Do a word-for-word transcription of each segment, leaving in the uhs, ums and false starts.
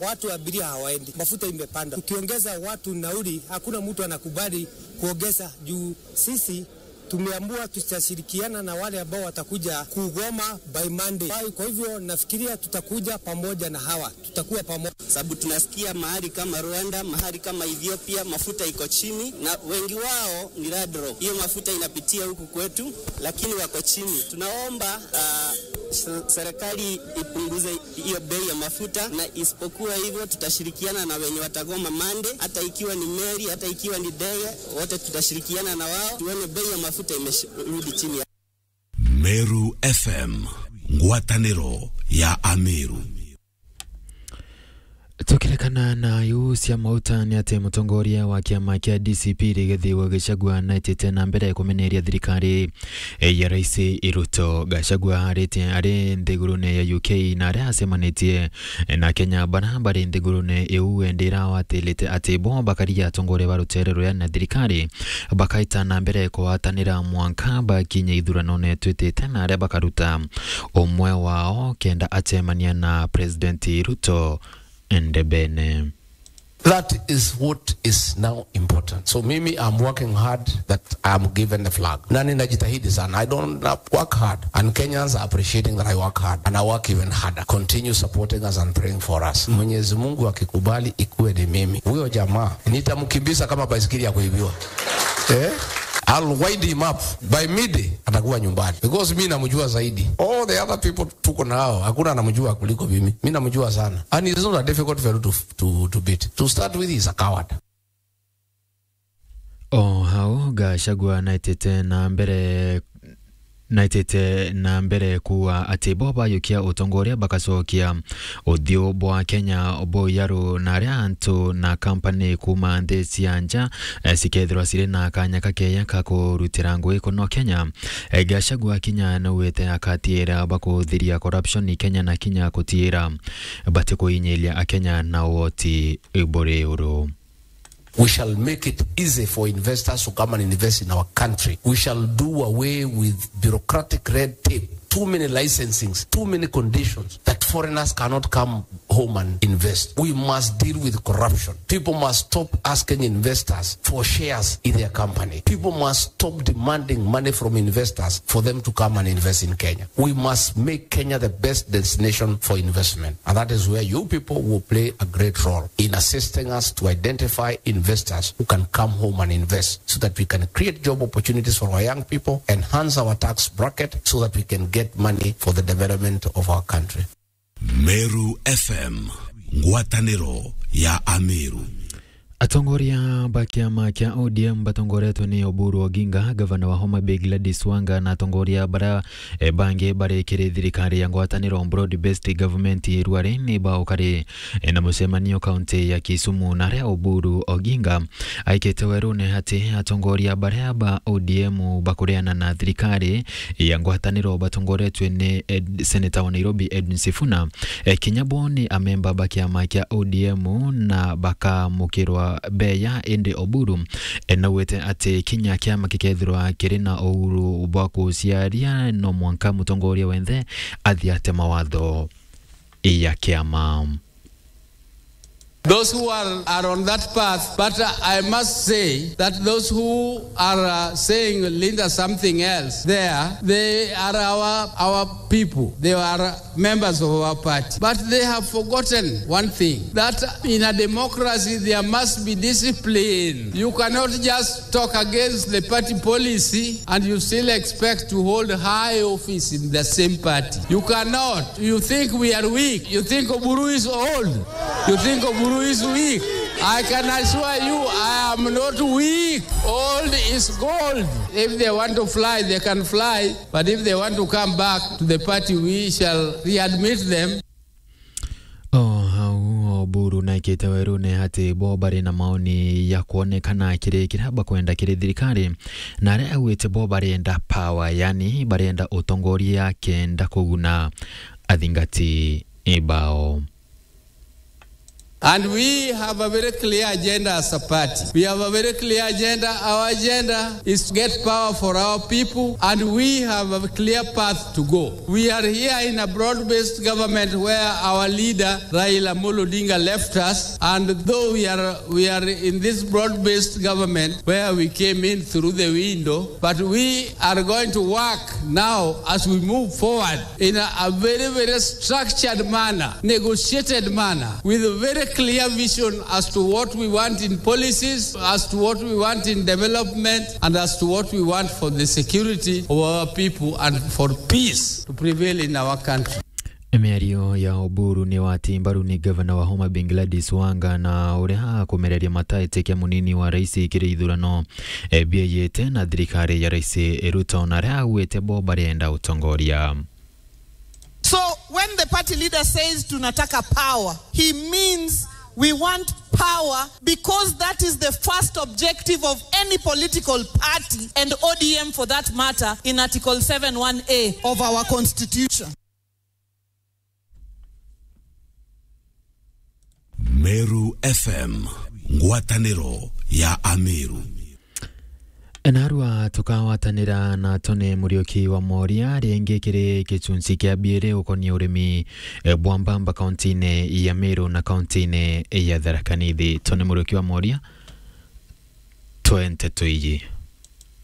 Watu abiria hawaendi, mafuta imepanda. Tukiongeza watu nauli, hakuna mtu anakubali kuongeza juu sisi tumeamua tutashirikiana na wale ambao watakuja kugoma by Monday. Kwa, kwa hivyo nafikiria tutakuja pamoja na hawa, tutakuwa pamoja. Sababu tunasikia mahali kama Rwanda, mahali kama Ethiopia, mafuta iko chini, na wengi wao ni Ladro. Hiyo mafuta inapitia huku kwetu, lakini wako chini. Tunaomba, ah, se-, serikali ipunguze hiyo bei ya mafuta, na isipokuwa hivyo tutashirikiana na wenye watagoma Monday, hata ikiwa ni meli, hata ikiwa ni ndege, wote tutashirikiana na wao, tuone bei ya mafuta imerudi chini. Meru F M, ngwatanĩro ya Ameru. Tukirekana na iu cia mauta, ni ati mutongoria wa kiama kia D C P Rigathi wa Gachagua naitite na mbere kumeneria thirikari ya Rais Ruto. Gachagua arite ari nthigurune ya U K na aria acemanitie na Kenya bara bari nthigurune iu, endi irawatilite ati bo bakaria atongoria ba rutere ruria na thirikari bakaita na mbere kugwatanira mwanka bakinye ithuranone twitite na aria bakaruta umwe wao kenda acemania na President Ruto ndebene. That is what is now important. So mimi, I'm working hard that I'm given the flag. Na ninajitahidi sana. I don't work hard. And Kenyans are appreciating that I work hard. And I work even harder. Continue supporting us and praying for us. Mwenyezi Mungu akikubali ikuwe ni mimi. Huyo jamaa, nitamkimbiza kama baisikeli ya kuibiwa. Eh? I'll wind him up. By midday, atakuwa nyumbani. Because mi namjua zaidi. All the other people tuko nao, hakuna anamjua kuliko mimi. Mi namjua sana. And he's not a difficult fellow to, to, to beat. To start with, he's a coward. O hau, Gachagua naitite na mbere, naitite na mbere kuuga ati bo bayukia utongoria bagacokia uthiu bwa Kenya buyaru, na aria antu na kampani kuuma nthi cia nja, eh, cikethirwa ciri na kanya kakeya ka kurutira ngugi kuno Kenya. Eh, Gachagua kinya naugite akatiira bakuthiria corruption Kenya na kinya kutiira bati kuinyiria Akenya na woti buri uru. We shall make it easy for investors to come and invest in our country. We shall do away with bureaucratic red tape, too many licensings, too many conditions that foreigners cannot come home and invest. We must deal with corruption. People must stop asking investors for shares in their company. People must stop demanding money from investors for them to come and invest in Kenya. We must make Kenya the best destination for investment. And that is where you people will play a great role in assisting us to identify investors who can come home and invest so that we can create job opportunities for our young people, enhance our tax bracket so that we can get money for the development of our country. Meru F M, ngwatanĩro ya Ameru. Atongoria ba kiama kia O D M batongoretwe ni Oburu Oginga, gavana wa Homa Bay Gladys Wanga, na atongoria bara, eh, bangi bari kiri thirikari ya ngwatanĩro, broad based government, ruari ni baukari, eh, na mucemanio kaunti ya Kisumu, na aria Oburu Oginga aikite werune ati atongoria baria ba O D M bakureana na thirikari ya ngwatanĩro batongoretwe ni Ed-, Senator wa Nairobi Edwin Sifuna, eh, kinya bo ni amemba ba kiama kia O D M na bakamukirwa beya, indi Oburu, eh, naugite ati kinya kiama gikethirwa kiri na uhuru bwa kuciaria, no mwanka mutongoria wenthe athiate mawatho ya kiama. Those who are, are on that path, but, uh, I must say that those who are, uh, saying Linda something else there, they are our, our people. They are members of our party. But they have forgotten one thing, that in a democracy there must be discipline. You cannot just talk against the party policy and you still expect to hold high office in the same party. You cannot. You think we are weak. You think Oburu is old. You think Oburu is weak. I can assure you, I am not weak. Old is gold. If they want to fly, they can fly. But if they want to come back to the party, we shall readmit them. O hau, Oburu naikite werune ati bo bari na maoni ya kwonekana kiri kiria bakwenda kiri thirikari, na aria augite bo barenda power, yani barenda utongoria kenda kuguna athingati bao. And we have a very clear agenda as a party. We have a very clear agenda. Our agenda is to get power for our people, and we have a clear path to go. We are here in a broad-based government where our leader, Raila Amolo Odinga, left us, and though we are, we are in this broad-based government where we came in through the window, but we are going to work now as we move forward in a, a very, very structured manner, negotiated manner, with a very clear vision as to what we want in policies, as to what we want in development, and as to what we want for the security of our people and for peace to prevail in our country. Miario ya Oburu ni wati mbaru ni gavana wa Homa Bay Gladys Wanga, na uria akumereria mata itikia munini wa rais kiri ithurano, e, bieyete na thirikari ya rais Ruto, na aria augite bo barienda utongoria. So when the party leader says, "Tunataka power," he means we want power, because that is the first objective of any political party, and O D M for that matter, in Article seven one A of our constitution. Meru F M, ngwataniro ya Ameru. Narua tukawatanira na Tony Muriuki wa Moria ringi kiri gicunci kia biiri ukonie urimi, e, bwa mbamba kauntine ya Meru na kauntine ya Tharaka Nithi. Tony Muriuki wa Moria, twe nteto iji.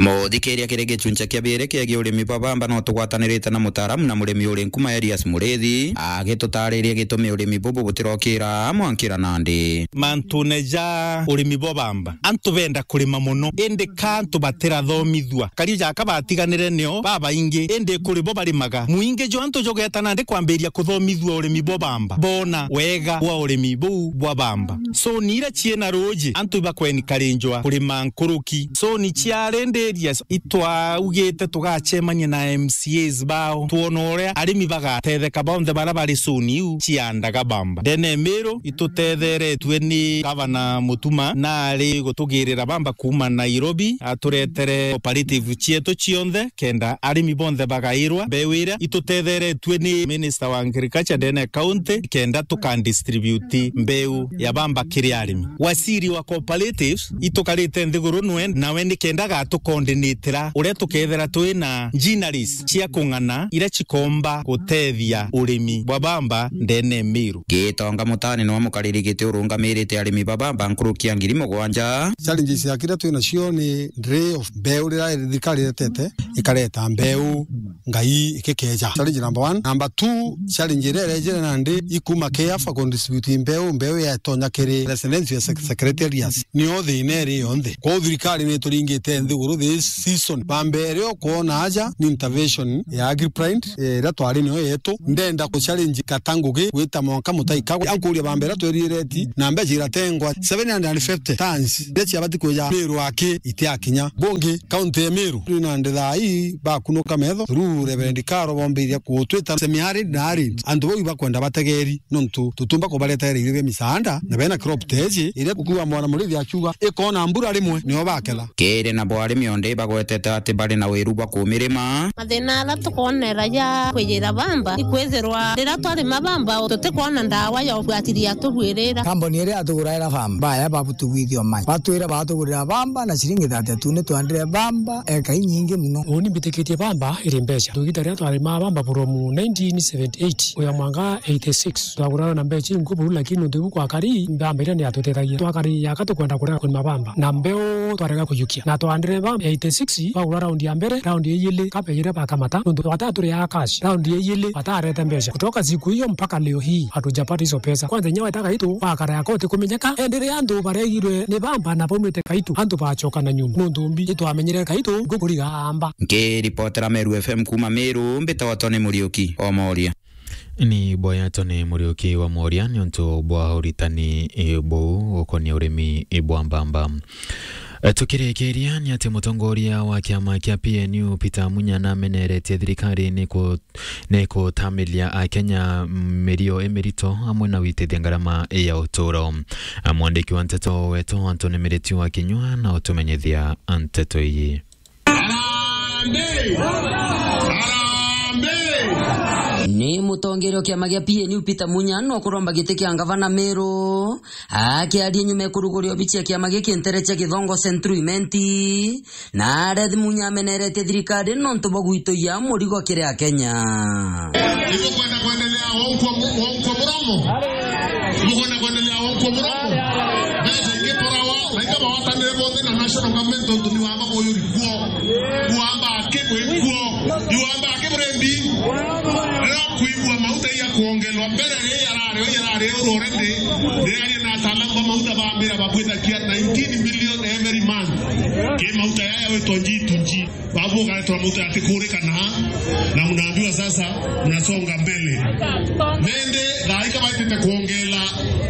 Muthikiria, kiri gicunci kia biiri kiegie urimi bwa bamba, no tugwatanirite na mutaaramu na murimi uri Nkuma, Elias Murithi, agitutariria gitumi urimi bubu butirokira mwankira nandi. Mantune ja urimi bwa bamba, antu benda kurima mono, indi ka antu batirathomithua. Kario jaka batiganire nio babaingi, indi kuri bo barimaga. Mwingi jwa antu jugeta nandi kwambiria kuthomithua urimi bwa bamba, bona wega bwa urimi buu bwa bamba. Soni iria ciina ruuji, antu ibakwenikarinjwa kurima nkuruki. Soni cia rindirias, itwaugite tugacemania na M C As bao, twone uria arimi bagatetheka bonthe baria bari soni iu ciandaga bamba. Ndene Miru, itutetheretue ni Gavana Mutuma, na ari gutugirira bamba kuuma Nairobi, aturetere cooperative cietu cionthe, kenda arimi bonthe bagairwa mbeu iria. Itutetheretue ni Minister wa Agriculture ndene county, kenda tukandistribute mbeu ya bamba kiri arimi. Waziri wa cooperatives, itukarite nthiguru nwe, nawe ni kenda agatucoordinatira uria tukethira twina machineries cia kung'ana iria cikomba gutethia urimi bwa bamba ndene Miru. Gitonga Mutani niwe mukariri giti urungamirite arimi ba bamba nkuruki ya ngiri mugwanja. Challenges ya kiria twina cio ni delay of mbeu, riria thirikari iretete ikareta mbeu ngai ikikeja. Challenge number one. Number two, challenge iria irejire nandi ikuma KEAFA kudistribute mbeu, mbeu yetonya kiri residential sec-, secretariats. Nio thina iri yonthe. Kwou thirikari ni ituringite nthiguru this season. Bamba iria ukwona aja ni intervention ya Agripride, eh, iria twari nio yetu. Ndenda ku challenge Katangugi gwita mwanka Mutaika. Ankuria bamba iria twirire ti na mbeca iratengwa seven hundred and fifty tons. Iria ciabati kwija Miru aki itiakinya. Bungi, kaunti ya Miru, twina ndithai bakunuka metho through Reverend Karo bombiriria gutwita semi-arid na arid. Antu bau ibakwenda bategeri, nontu tutumba kubaretera irio bia misaanda, na bena crop teji iria kukuwa mwana murithi akiuga ikona mbura rimwe nio baketha. Kiri nabo arimi onde ibagwetete ati bari na wiru bwa kumirima. Mathina aria tukwonera ja kwijira bamba ikwithirwa riria twarima bamba tutikwona ndawa ya ugwatiria tubwirira. Kambuni iria yatuguraira bamba, baya babutugwithia umanyi. Batwira batugurira bamba na ciringi thirty two, ni twandire bamba eka inyingi muno. Uni mbitikitie bamba iri mbeca. Tugita riria twarima bamba from nineteen seventy-eight kuya mwanka eighty-six. Twagurana na mbeca ingu buru, lakini nontu ibu gwakari, bamba iria ni yatutethagia. Twakari yaka tukwenda kurega kurima bamba. Na mbeu twarega kujukia. Na twandire bamba eighty-six, twagura round ya mbere, round ya ijili, kabe ijili bakamata. Nontu twata turi ya cash. Round ya ijili, batarete mbeca. Kutoka siku hiyo mpaka leo hii, hatujapata hizo pesa. Kwanza inya weta Kaitu, wakara yako utikumenyeka. Enderea antu baregirwe ni bamba na baumite Kaitu, antu bacoka na nyuma. Nontu mbi, itwamenyire Kaitu, ngukuriga amba. Nkiripotera Meru F M kuuma Miru, mbitagwa Tony Muriuki wa Moria. Ni boya Tony Muriuki wa Moria niuntu bwa uritani, eh, buu ukonia urimi, eh, bwa mbamba. Eh, tukirikiria ni ati mutongoria wa kiama kia P N U Peter Munya nameneretie thirikari ni ku-, ni kutamiria Akenya mirio imirito amwe na witithia ngarama ya uturo. Mwandiki wa nteto wetu Anthony Miriti wa Kinyua na utumenyithia nteto iyi. Harambee! Harambee! Ni mutongeria wa kiama gia P N U Peter Munya no kuromba giti kia ngavana Meru. Akiaria nyuma ya kuruguria obici ya kiama giki ntere cia Githongo Central Imenti, na arethi Munya ameneretie thirikari nontu bwa gwitoia murigo kiri Akenya. Ibukwenda kwendelea wankwa mu-, wankwa muromo? Ibukwenda kwendelea wankwa muromo? Mbeca ingi turawa, na ikaba watanire bonthe na national government tontu ni wamba buyuri kuo. Iwamba aki buri kuo. Iwamba aki buri mbi. Riria kwigua mauta iya kuongelwa mbere, riria yarari, riria yarari uru already, riria ari na ataalamu ba mauta bambira babwithagia nineteen million every month. Ki mauta yaya witwa G two G. Babu ukaletwa mauta yatikurikana, na mnaambiwa sasa mnasonga mbele. Nende thaika baitite kuongela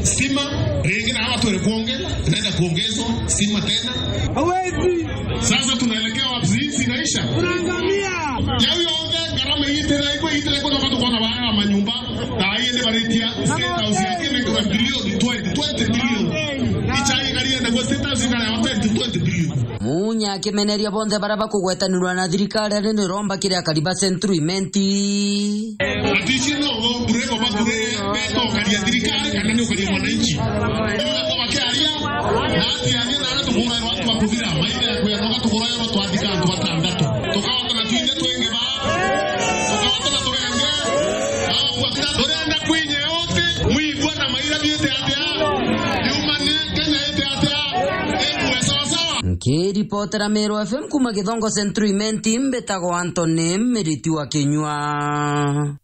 stima, ringi na hawa twere kuongela, inaenda kuongezwa stima tena. Hawezi. Sasa tunaelekea wapi? Hii si inaisha? Tunaangamia. Yau yonthe ngarama iitira, ikwe iitira, ikwe noka tukona baya manyumba. Na hii ende baritia State House ya kine kwa bilioni twenty, twenty billion. Ichai ngari ende kwa State House ngari ya twenty, twenty billion. Munya akimeneria bonthe baria bakugwetanirwa na thirikari ari ni romba kiri akari ba Central Imenti. Ati ici no bure baba bure betokaria thirikari kana ni ukaria mwananchi. Ndio kwa wakiaria, na ati aria na ati kugura watu wa kuthira, maithe ya kuya noga tugura yo twathika antu batandatu. Tukahota na twinde twingi ba. Tukahota na turenge. Turenda kwinye yote, mwigua na maira biete atia. Yumane Kenya ete atia. Ekuwe sawa sawa. Nkiripotera Meru F M kuma Githongo Central Imenti, mbitagwa Anthony Miriti wa Kinyua.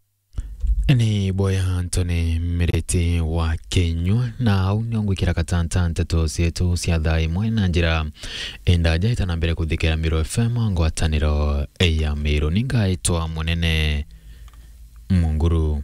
Ni boya Anthony Miriti wa Kinyua, na au nio ngwikira gatanta nteto cietu cia thaa imwe na njira indaja itana mbere kuthikira Meru F M ngwataniro ya Meru. Ningaitwa Munene Munguru.